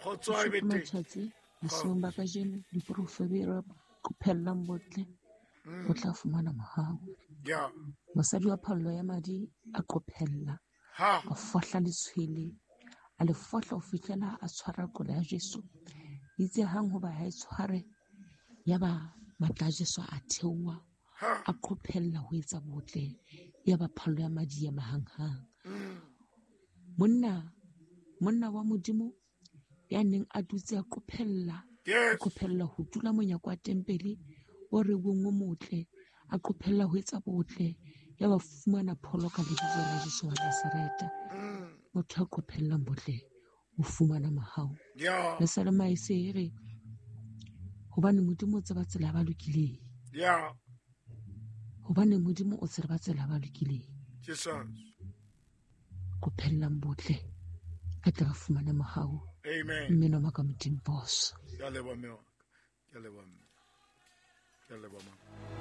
Kgotso a be teng. Matjhatsi bosiung ba kajeno diporofebera qophellang botle o tla fumana mohau. Ya. Mosadi wa phallo ya madi a qophella Ha. a fohla letshwele a le fohla ho fihlela a tshwara qola ya Jesu. Itse hang hoba ha e tshware yaba matla a Jesu a theoha Ha. a qophella ho etsa botle yaba phallo ya madi ya mahanghang. Monna monna wa Modimo ya neng a dutse a qophella a Yes. qophella ho dula monyako wa tempele o reuweng o motle a qophella ho etsa botle ya ba fumana pholo ka lebitso la Jesu wa Nazareta. Motho a qophellang botle o fumana mohau. Ya. Le sa le maese e re hobane Modimo o tseba tsela ya ba lokileng. Ya. Hobane Modimo o tseba tsela ya ba lokileng. Jesus. Qophellang botle re tle re fumane mohau. Amen. Mme noma ka Modimo boss. Ke a leboha mme wa ka. Ke a leboha mme. Ke a leboha mama.